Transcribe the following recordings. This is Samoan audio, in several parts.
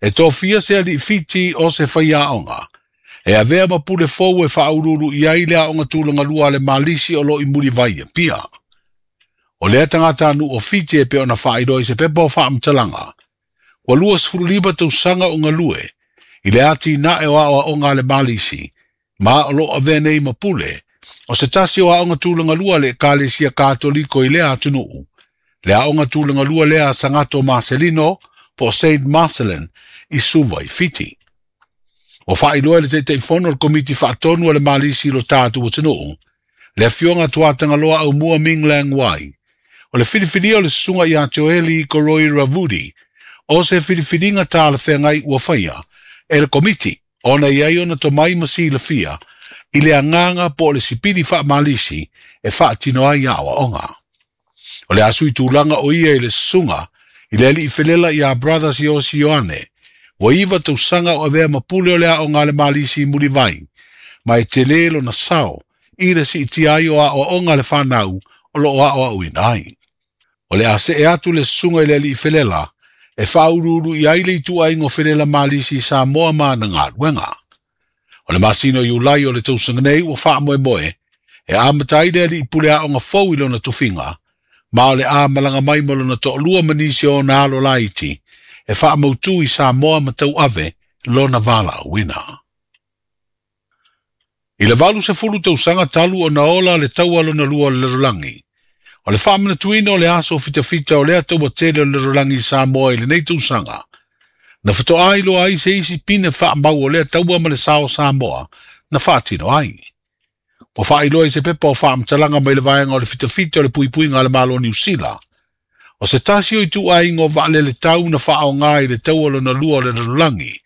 E tofia se alii Fiti o se faiaoga e avea ma pule fou e faauluulu i ai le aoga tulagalua a le Malisi o lo o i Mulivai i Apia. O lea tagatanuu o Fiti e pei ona faailoa i se pepa o faamatalaga, ua 25 tausaga o galue i le atinae o aoaoga a le Malisi, ma o lo o avea nei ma pule o se tasi o aoga tulagalua a le Ekalesia Katoliko i lea atunuu, le aoga tulagalua lea a Sagato Marcelino po o Saint Marcellin i Suva i Fiti. Ua faailoa e le Taitaifono o le Komiti Faatonu a le Malisi i lo tatou atunuu, le Afioga Tuatagaloa Aumua Ming Lang Wai, o le filifilia o le Susuga ia Joeli Koroi Ravudi o se filifiliga talafeagai ua faia e le Komiti ona e i ai ona tomai ma silafia i le agaga po o le sipili faamalisi e faatino ai aoaoga. O le a sui tulaga o ia i le susuga i le alii felela ia Brother Siosi Ioane, ua 9 tausaga o avea ma pule o le aoga a le Malisi i Mulivai, ma e tele lona sao i le siitia ai o aoaoga a le fanau o lo o aoaoina ai. O le a see atu le susuga i le alii felela e faauluulu i ai le ituaiga o felela Malisi i Samoa ma ana galuega. O le masina o Iulai o le tausaga nei ua faamoemoe e amata ai le alii pule aoga fou i lona tofiga, ma o le a malaga mai ma lona toalua ma nisi o ona alo laiti e faamautu i Samoa ma tauave lona valaauina. I le 80 tausaga talu ona ola le taua lona lua o le lalolagi, o le faamanatuina o le aso fitafita o lea taua tele o le lalolagi i Samoa i lenei tausaga, na fatoa iloa ai se isi pine faamau o lea taua ma le sao o Samoa na faatino ai. Ua faailoa i se pepa o faamatalaga mai le vaega o le fitafita o le puipuiga a le Malo o Niu Sila, o se tasi o ituaiga o vaalele tau na faaaoga i le taua lona lua o le lalolagi,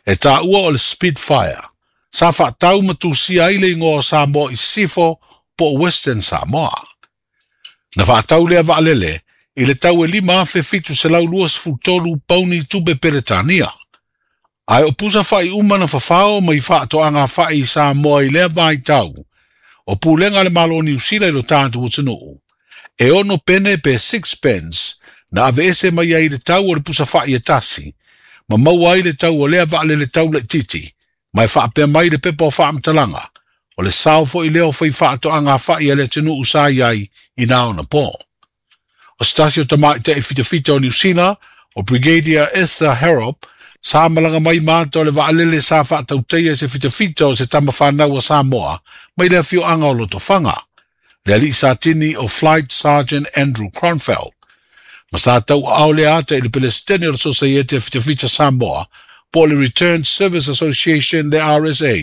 e taua o le Spitfire, sa faatau ma tusia ai le igoa o Samoa i Sisifo po o Western Samoa. Na faatau lea vaalele i le tau e 5,723 pauni tupe Peretania. Ae o pusa fa'i uma na fafao mai faatoaga fa'i i Samoa i lea vaitau, o pulega a le Malo o Niu Sila i lo tatou atunuu, e 6 pene pe 6 pence na aveese mai ai le tau o le pusa fa'i e tasi, ma maua ai le tau o lea vaalele tau laitiiti, ma e faapea mai le pepa o faamatalaga, o le sao foi lea o fai faatoaga fa'i a le atunuu sa i ai i na ona po. O se tasi o tamaitai fitafita o Niu Sila, o Brigadier Esther Harrop, sa malaga mai ma ata o le vaalele sa faatautaia i se fitafita o se tama fanau a Samoa mai le afioaga o Lotofaga, le alii satini o Flight Sergeant Andrew Kronfeld. Ma sa tauaao lea ata i le Pelesitene o le Sosaiete a Fitafita Samoa po o le Returned Service Association le RSA,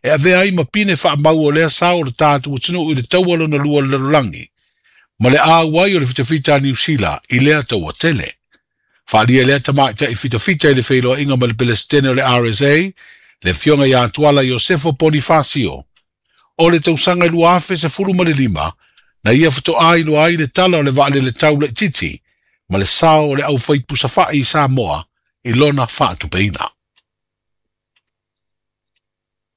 e avea ai ma pine faamau o lea sao o le tatou atunuu i le taua lona lua o le lalolagi, ma le auai o le fitafita a Niu Sila i lea taua tele. Faaalia lea tamaitai fitafita i le feiloaiga ma le Pelesitene o le RSA, le Afioga ia Tuala Iosefo Ponifasio, o le tausaga e 2015, na ia fatoa iloa ai le tala o le vaalele tau laitiiti ma le sao o le aufaipusa fa'i i Samoa i lona faatupeina.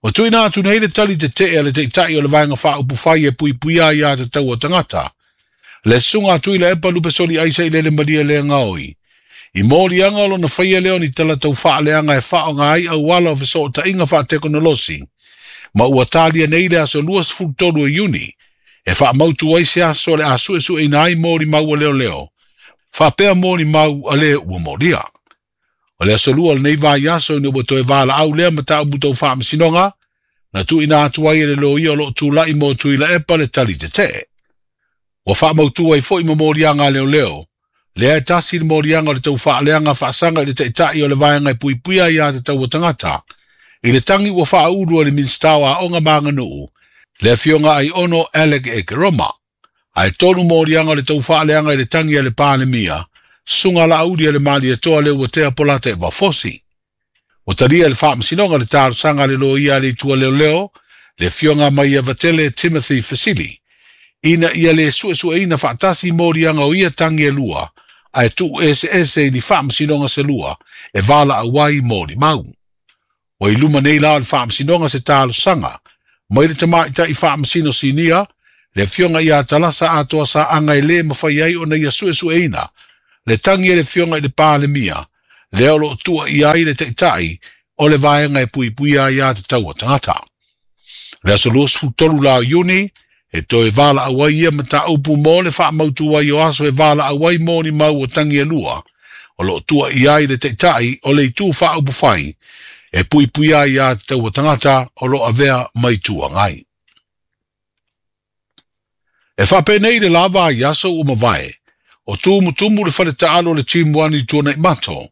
Ua tuuina atu nei le tali tetee a le Taitai o le Vaega Faaupufai e puipuia ai aiatatau a tagata, le Susuga a Tuilaepa Lupesoli Aisa i Lele Malie Legaoi, i moliaga o lona faia lea o ni tala tau faaleaga e faaaoga ai auala o fesootaiga faatekonolosi, ma ua talia nei le aso 23 o Iuni e faamautu ai se aso o le a suesueina ai molimau a leoleo, faapea molimau a le ua molia. O le aso lua o lenei vaiaso ina ua toe valaau lea mataupu tau faamasinoga, na tuuina atu ai e le loia o lo o tulai mo Tuilaepa le tali tetee. Ua faamautu ai foi ma moliaga a leoleo, lea e tasi le moliaga o le tau faaleaga faasaga i le Taitai o le Vaega e puipuia aiatatau a tagata, i le tagi ua faaulu e le Minisita o Aoga ma Aganuu, le Afioga Aiono Alec Ekeroma. Ae tolu moliaga o le tau faaleaga i le tagi a le Palemia, Susuga Laauli a le Malietoa Leuatea Polataivao Fosi. Ua talia e le Faamasinoga le talosaga a le loia a le Itu a Leoleo, le Afioga Maiavatele Timothy Fesili, ina ia le suesueina faatasi moliaga o ia tagi e lua, ae tuu eseese i ni faamasinoga se lua e valaau ai molimau. Ua i luma nei la o le Faamasinoga se talosaga mai le tamaitai faamasino sinia, le Afioga ia Talasa Atoa Saaga e lē mafai ai ona ia suesueina le tagi a le Afioga i le Palemia, lea o loo tuuaia ai le Taitai o le Vaega e Puipuia Aiatatau a Tagata. O le aso 23 la o Iuni, e toe valaau ai ia mataupu mo le faamautu ai o aso e valaau ai mo ni mau o tagi e lua, o loo tuuaia ai le Taitai o le Itu Faaupufai e Puipuia Aiatatau a Tagata o loo avea ma Itu Agai. E faapenei le lava ai aso ua mavae, o tumutumu le faletaalo o le Team 1 i Tuanaimato,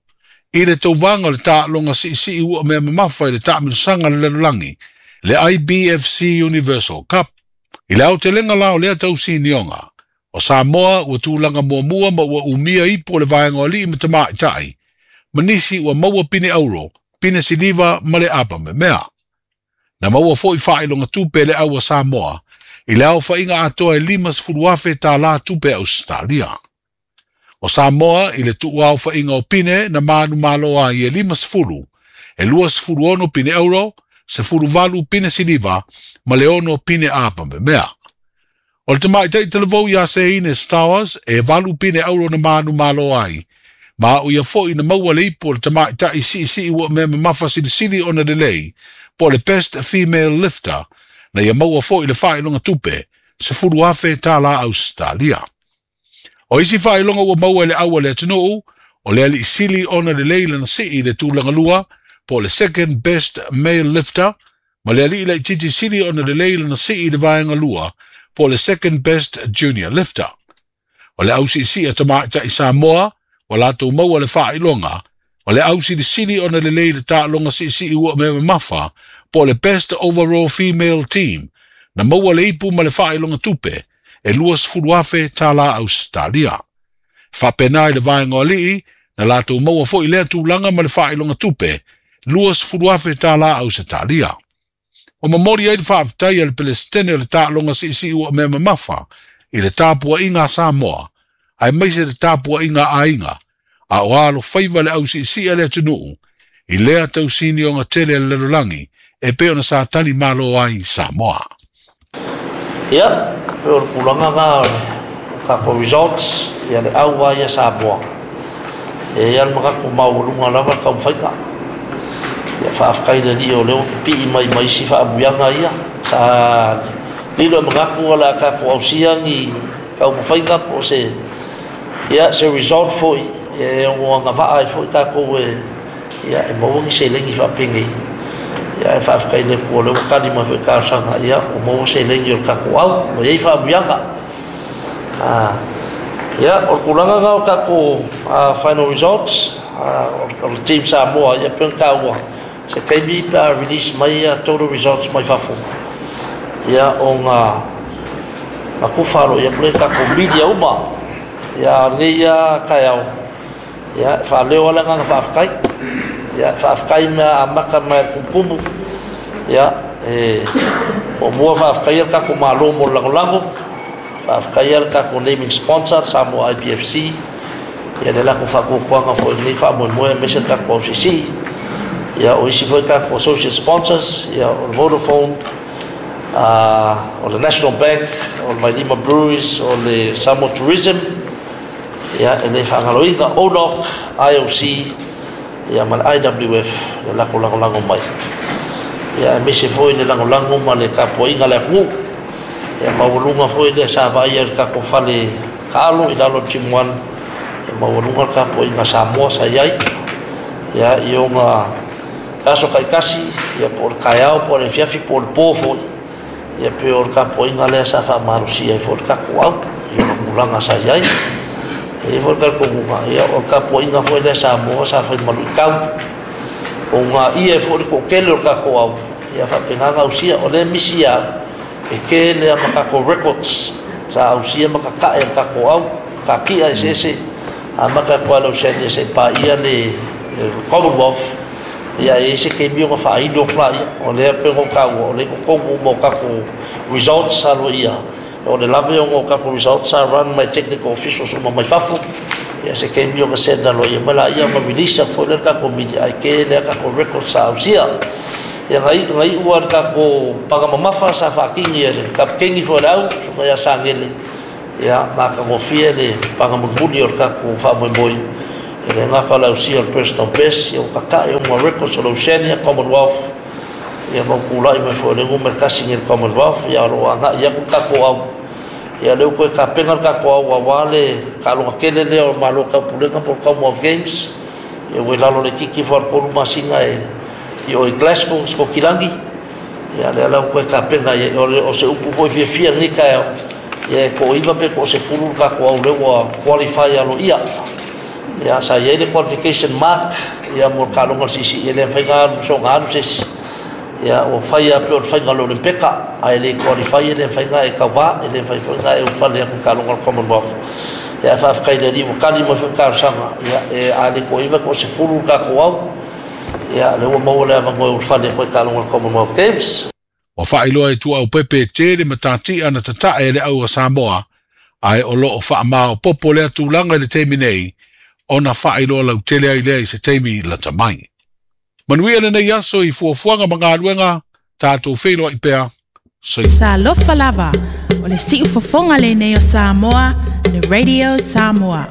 i le tauvaga o le taaloga siisii ua mea mamafa i le taamilosaga le lalolagi, le IBFC Universal Cup. I le aotelega la o lea tausinioga, o Samoa ua tulaga muamua ma ua umia ipu o le vaega o alii ma tamaitai, ma nisi ua maua pine auro, pine siliva ma le apa memea. Na maua foi faailoga tupe le au a Samoa, i le aofaiga atoa e $50,000 tupe Ausetalia. O Samoa i le tuuaofaiga o pine na manumalo ai e 50, e 26 pine auro, 18 pine siliva, ma le 6 pine apa memea. O le tamaitai talavou ia Seine Stowers e 8 pine auro na manumalo ai, ma o ia foi na maua le ipu o le tamaitai siisii ua mea mamafa silisili ona lelei, po le Best Female Lifter, na ia maua foi le faailoga tupe, $10,000 Ausetalia. O isi faailoga ua maua e le au a le atunuu, o le aliisili ona lelei lana sii le tulaga lua, po le Second Best Male Lifter, ma le alii laitiiti sili ona lelei lana sii le vaega lua, po le Second Best Junior Lifter. O le ausiisii a tamaitai Samoa, ua latou maua le faailoga, o le ausilisili ona lelei le taaloga siisii ua mea mamafa, po le Best Overall Female Team, na maua le ipu ma le faailoga tupe, e $20,000 Ausetalia. Faapena i le vaega o alii, na latou maua foi lea tulaga ma le faailoga tupe, $20,000 Ausetalia. O momoli ai le faafetai a le Pelesitene o le taaloga siisii ua mea mamafa i le tapuaiga a Samoa, aemaise le tapuaiga a aiga, a o alofaiva le ausiisii a le atunuu, i lea tausinioga tele a le lalolagi, e pei ona sa tali malo ai Samoa. Ia, pei o le tulaga na o le tatou results, ia le au lava ia Samoa. E i ai le manatu maualuga lava le taumafaiga. Ia faafetai i le Alii o lea ua pipii mai ma isi faaamuiaga ia. Sa lilo e manatu o le a tatou ausia ni taumafaiga po o se, ia, se result foi e ono agavaa ai foi tatou e, ia, e maua ni seleni faapenei. Ia, ae faafetai i le Atua o lea ua tali mai foi i talosaga, ia, ua maua seleni o le tatou au, ua i ai faaamuiaga. Ia, o le tulaga lena o tatou final results, o le Team Samoa, ia, pei ona taua, se taimi pe a release mai ia total results mai fafo, ia, ona tufa aloaia atu lea i tatou media uma. Ia, lenei ia taeao, ia, e faaleo lava le agaga faafetai. Ia, faafetai mea amata mai le tumutumu. Ia, e muamua faafetai le tatou Malo mo le lagolago. Faafetai le tatou naming sponsor, Samoa IBFC. Ia, le latou faatuatuaga foi i lenei faamoemoe, aemaise le tatou ausiisii. Ia, o isi foi tatou associate sponsors, ia, o le Vodafone, o le National Bank, o le Vailima Breweries, o le Samoa Tourism, ia, e le faagaloina ONOC, IOC, ia, ma le IWF, le latou lagolago mai. Ia, aemaise foi le lagolago ma le tapuaiga a le atunuu. Ia, maualuga foi le sa vaaia i le tatou fale taalo i lalo o le Gym 1. Ia, maualuga le tapuaiga a Samoa sa i ai. Ia, i ona aso taitasi, ia, po o le taeao, po o le afiafi, po o le po foi. Ia, pei o le tapuaiga lea sa faamalosia ai foi le tatou au i ona tulaga sa i ai. E i ai foi le talitonuga, ia, o le tapuaiga foi lea Samoa sa fai malu i tau. O ngā ia e foi le toatele o le tatou au, ia faapena ona ausia. O lea misi ia au, e tele ama tatou records sa ausia ma tatae le tatou au, kakia eseese, amata atu lava le Oceania seia paia le Commonwealth, ia e i ai se taimi ona faailo atu laia. O lea pei ona ou taua, o lea e i totonu uma o tatou results sa aloaia. O le lave ona o tatou results sa run mai technical officials uma mai fafo. Ia se taimi ona send aloaia mai laia ma release atu foi lea i le tatou media, ae tele lava tatou records sa ausia. Ia na iu lava le tatou paga mamafa sa faatini e le kapikeni foi o le au, susuga ia Sagele, ia matagofie le paga mulimuli o le tatou faamoemoe. E le gata o le ausia o le personal best, ia ua tata'i uma records o le Oceania, Commonwealth, ia ma ua tulai mai foi o le 1 nei i le Commonwealth, ia o lo o agai atu le tatou au. Ia lea ua toe tapena le tatou au aua le taaloga tele lea o Malo Taupulega po o le Commonwealth Games, ia ua i lalo laitiiti ifo lava o le 3 masina e i o i Glasgow, Sikotilagi. Ia lea la ua toe tapena i ai. O se upu foi fiafia i lenei taeao, ia e toa-9 pe toa-10 le tatou au lea ua qualify aloaia. Ia sa i ai le qualification mark ia mo le taaloga o le siisii, e le mafai ona alu soona alu se isi. Ia ua fai lava pei o le faiga o le Olympeka, a e le qualify e le mafai ona e tauvā, e le mafai foi ona e ulufale atu i le taaloga o le Commonwealth. Ia ae faafetai i le Alii ua tali mai foi le talosaga, ia e a le toa-9 toa-10 le tatou au. Ia lea ua maua le avanoa e ulufale atu ai i le taaloga o le Commonwealth Games. Ua faailoa e Tuaaupepe e tele matatia na tatae e le au a Samoa, ae o lo o faamaopoopo lea tulaga i le taimi nei, ona faailoa lautele ai lea i se taimi lata mai. Manuia lenei aso i fuafuaga ma galuega, tatou feiloai pea. Soifua. Talofa lava, o le siufofoga lenei o Samoa, le Radio Samoa.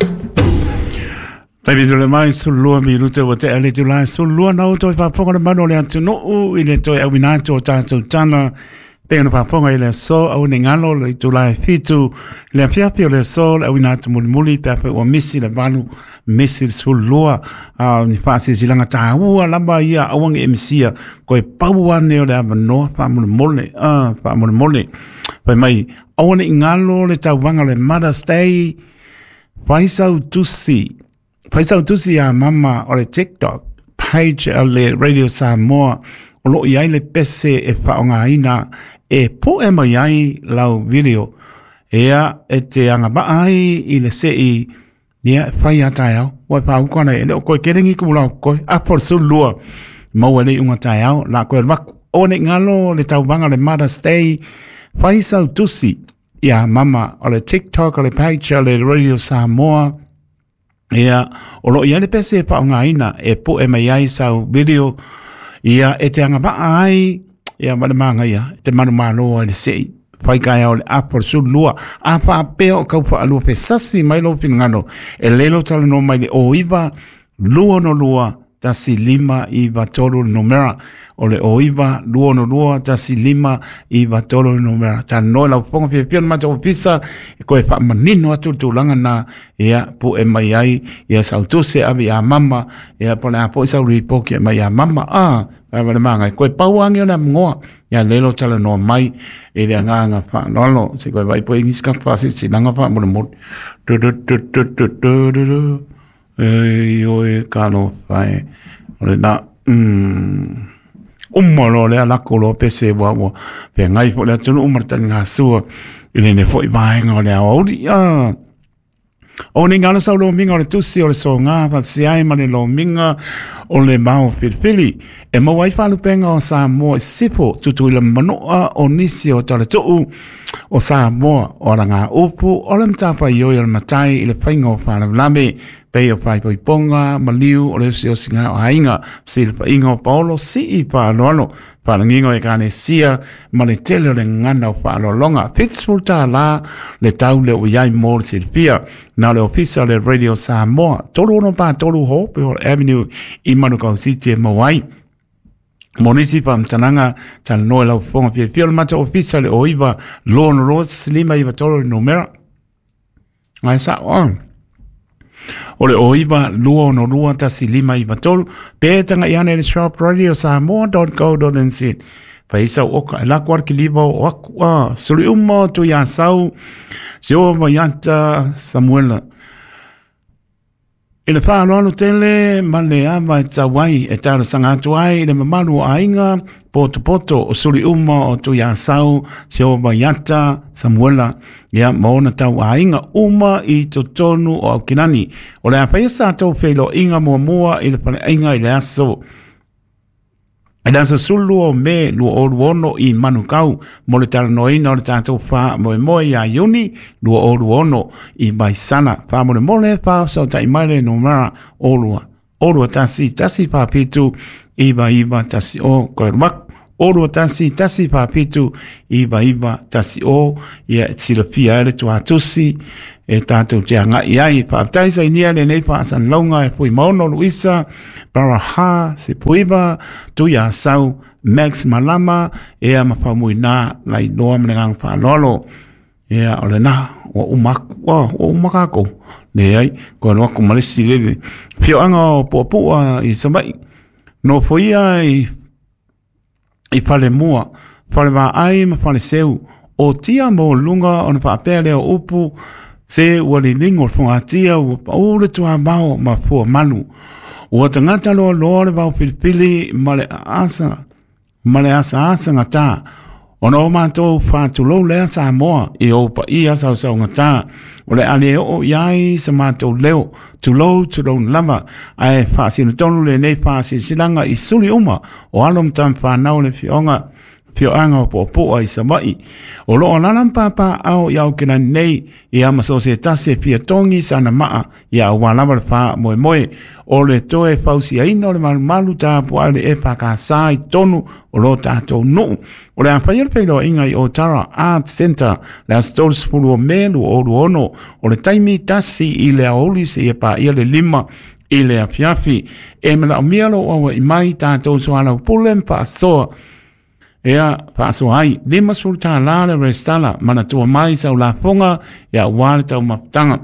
Taimi tole mai 12 minuta ua tea le itula e 12 na o toe faafofoga le mamalu o le atunuu i le toe auina atu o tatou tala pei ona faafofoga i le aso aua ne i galo le itula e 7 le afiafi o le aso le auina atu mulimuli pe afai ua misi le 8 misi le 12 a o ni faasilasilaga taua lava ia aua ne i e misia koe pau ane o le avanoa faamolemole a faamolemole fai mai aua ne i galo le tauvaga o le Mother's Day. Fai sau tusi, fai sau tusi iā mama o le TikTok page a le Radio Samoa o lo o i ai le pese e faaaogaina e poe mai ai lau video. Ea e te agavaa ai i le sei ia e fai a taeao. Ua e faauka ana e le o koe kele ni ku lau koe. Apo le 12 maua le iuga taeao la koe alu aku. Aua ne i galo le tauvaga o le Mother's Day. Fai sau tusi Ia mama, o le TikTok, o le page, o le Radio Samoa, ia, o lo o i ai le pese e faaaogaina e poe mai ai sau video, ia, e te agavaa ai, ia, ma le magaia, e te manumalo ai le sei, fai taeao i le apo le 12, a faapea o tau faalua fesasi mai lou finagalo, e lē lou talanoa mai le 09 262 1593 le numera o le 09 262 1593 le numera. Talanoa i lau fofoga fiafia o le matou ofisa e koe faamanino atu le tulaga na ia pue mai ai ia sau tusi e ave ia mama ia po o le a foi sau report e aumai ia mama a ave le magai koe pau age o le amoa ia lelo talanoa mai i le agaga faaaloalo se koe vai po ingisi ka faasilasila faamolemole du du du du du du du du. Ei oe ka alofa e. O le na, uma loa lea lako loa pese ua ua feagai foi le atunuu ma le taligasua i lenei foi vaega o le aoauli. Ah. O nei ngalo sau lomiga o le tusi o le soga faatasi ai ma le lomiga o le mao filifili e maua ai faalupega o Samoa i sisifo Tutuila ma Manua o nisi o Talatuu o Samoa o alagaupu o le matafaioi o le matai i le faiga o faalavelave pei o faaipoipoga maliu o le osiosiga o aiga fesilafaiga o paolo sii faaaloalo faalagiga o ekalesia ma le tele o le gagana o faaaloaloga. $70 le tau lea ua i ai mo le silafia. Na o le ofisa o le Radio Samoa 3643 Hopewell Avenue i Manukau City e maua ai. Mo nisi faamatalaga, talanoa i lau fofoga fiafia o le matou ofisa le 09 262 593 le numera. Ai sao ah. O le 09 262 1593 pe taga'i ane i le shop radiosamoa.co.nz. Fai sau oka e lako ale kiliva o aku a suli uma o Tuiasau Sio Vaiata Samuela. I le faaaloalo tele ma le ava e tau ai e talosaga atu ai i le mamalu o aiga potopoto o suli uma o Tuiasau, Sio Vaiata, Samuela, ia ma ona tau aiga uma i totonu o Aukilani. O le a faia sa tou feiloaiga muamua i le faleaiga i le aso I le aso 12 o Me 2026 i Manukau mo le talanoaina o le tatou faamoemoe ia Iuni 2026 i Vaisala. Faamolemole faafesootai mai le numera 02 2 1 1 4 7 9 9 1 0 koe alu atu. 021 147 9910, ia e silafia ai le tuatusi e tātou te agai ai. Faafetai sainia lenei faasalalauga e Fuimaono Luisa, Baraha Sepuiva, Tuiasau, Max Malama, ea ma Faumuina Lailoa ma le agaga faaaloalo. Ia, o lena, ua uma aku, ua uma kākou. Leai, koe alu aku ma le isi lele. Fioaga o Puapua i Savaii, nofoia i i Falemua, Falevaai ma Faleseu, o tia maualuga ona faapea lea o upu, se ua liligo le fogatia, ua pau le tuamao ma fua malu. Ua tagata loaloa le vao filifili ma le aasa, ma le asaasa gata. Ona o matou faatulou lea Samoa i ou paia sausaugata, o le a le oo i ai sa matou leo, tulou tulou lava, ae faasino tonu lenei faasilasilaga i suli uma o alo ma tama fanau le afioga afioaga o Puapua i Savaii. O lo o alaala ma papaaao i Aokelani nei, ia ma so o se tasi e fia togi sana maa ia aua lava le faamoemoe o le toe fausiaina o le malumalu tapuai o le EFKS i totonu o lo tatou nuu. O le a faia le feiloaiga i Otara Arts Centre le aso 30 o Me 2026, o le taimi 1 i le aoauli seia paia le 5 i le afiafi. E manaomia lou aua'i mai tatou soalaupule ma faasoa. Ea, faasoa ai, $50 le resitala, manatua mai sau lafoga ia aua le taumafataga.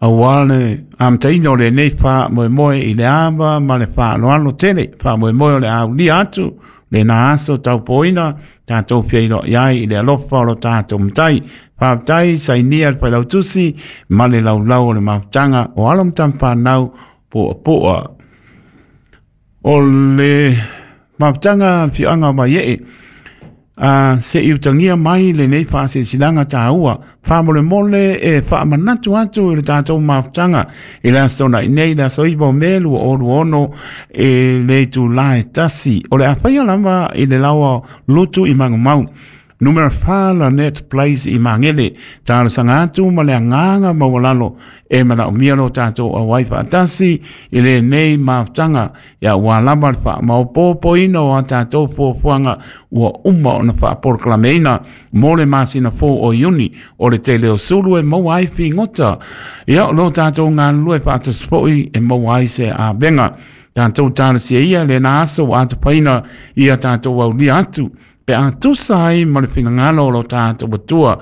Aua le amataina o lenei faamoemoe i le ava ma le faaaloalo tele, faamoemoe o le a aulia atu lena aso taupoina tatou feiloai ai i le alofa o lo tatou Matai. Faafetai sainia le Failautusi ma le laulau o le mafutaga o alo ma tama fanau puapua. O le mafutaga afioaga o Vaiee, a se i utagia mai lenei faasilasilaga taua, faamolemole e faamanatu atu i le tatou mafutaga i le aso Toonai nei, le aso 9 o Me 2026 i le itula e 1. O le a faia lava i le laoa lutu i Magumau. Numera 4 Lanette Place i Magele. Talosaga atu ma le agaga maualalo e manaomia lo tatou auai faatasi i lenei mafutaga ia aua lava le faamaopoopoina o a tatou fuafuaga ua uma ona faapolokalameina mo le masina fou o Iuni o le tele o sulu e maua ai figota. Ia o lo tatou galulue faatasi foi e maua ai se avega. Tatou talosia ia lena aso ua atofaina ia tatou aulia atu pe a tusa ai ma le finagalo o lo tatou Atua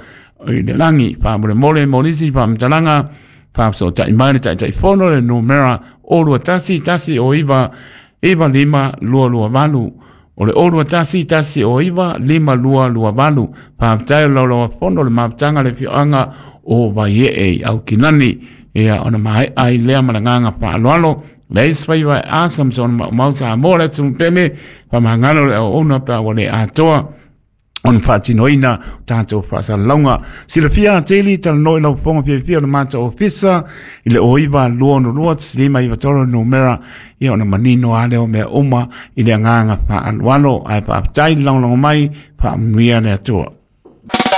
i le lagi. Faamolemole mo nisi faamatalaga, faafesootai mai le Taitaifono le numera 021 109 9528. O le 021 109 5228. Faafetai o le laulauafono o le mafutaga le afioaga o Vaiee i Aukilani. Ia ona maea ai lea ma le agaga faaaloalo. Le isi faiva e asa ma sona maumau Samoa le atunuu pele, faamagalo le auauna pe a ua le atoa ona faatinoina o tatou faasalalauga. Silafia atili talanoa i lau fofoga fiafia o le matou ofisa i le 09 262 593 numera ia ona manino lava lea o mea uma i le agaga faaaloalo. Ae faafetai le lagolago mai, faamanuia le Atua.